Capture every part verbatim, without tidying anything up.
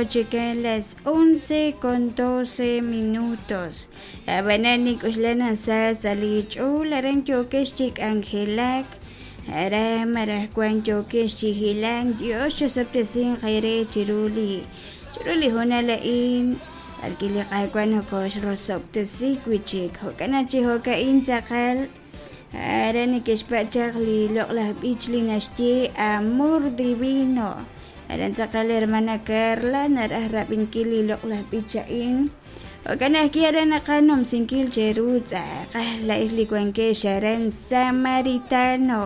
Chica las once con doce minutos. Abanani kuxlana sa salich'ul aran yokex chik angelak ara marajkuan yokex chijilan Dios xosoptesin jere chiruli chiruli honalain alkiliqakuan jokox rosoptesi wichik jokana chijokain tzaqal ara nikexpachaq li loqlaj b'ich li naxye amor divino. Aran tzaqal hermana Carla naraj rab'inkil li loqlaj b'ich a'in jo'kan ajwi' aran naqanomsinkil cheru tz'aqal la'ix li wankex aran Samaritano.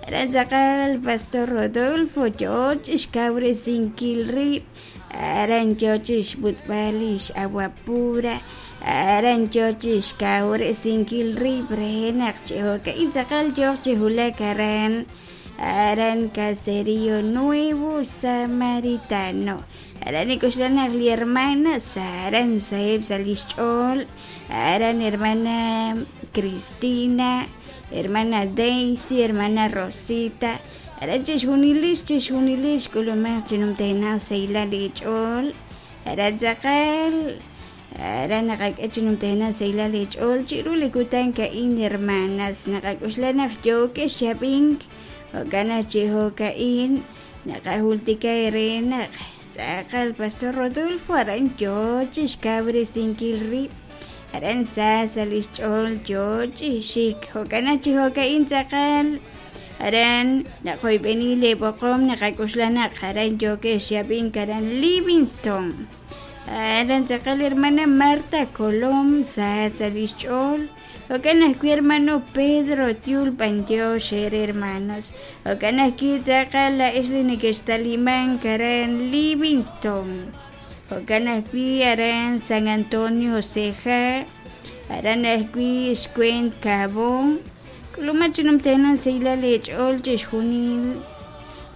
Aran tzaqal Pastor Rodolfo yoo chixkawresinkil rib' aran yoo chixb'utb'al lix agua pura aran yoo chixkawresinkil rib' re naq chijo'ka'in tzaqal yoo chijulak aran aran Caserío Nuevo Samaritano. Aran ikuxlanaq li hermana aran saheb sa' lixch'ool aran hermana Cristina, hermana Daisy, hermana Rosita. Aran chixjunilix chixjunilix k'ulumaq chinumtejnaq sayla lich'ool aran tzaqal aran naqak'e chinumtejnaq sayla lich'ool chiru li kutan ka'in hermanas naqak'uxlanaq yokex xab'ink jo'kan chijo'ka'in naqajultika ere naq tzaqal Pastor Rodolfo aran yoo chixkawresinkil rib' aran sa sa' lixch'ool yoo chixik jo'kan chijo'ka'in tzaqal aran naqoyb'eni leb'oqom naqak'uxlanaq aran yokex xab'ink aran Livingston aran tzaqal hermana Marta Colom sa sa' lixch'ool jo'kan ajwi' hermano Pedro Tiul Pantió xere hermanos jo'kan ajwi' tzaqal la'ix li nekextalimank aran Livingston jo'kan ajwi' aran San Antonio Ceja aran ajwi' Xcuent Cabón k'uluma chinumtejnan sayla lech'ool chixjunil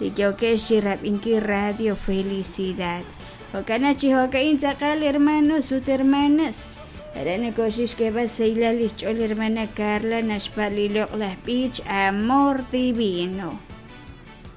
li yokex chirab'inkil Radio Felicidad jo'kan chijo'ka'in tzaqal hermanos ut hermanas aran koxix keba sayla lixch'ool hermana Carla naxpa' li loq'laj b'ich Amor Divino.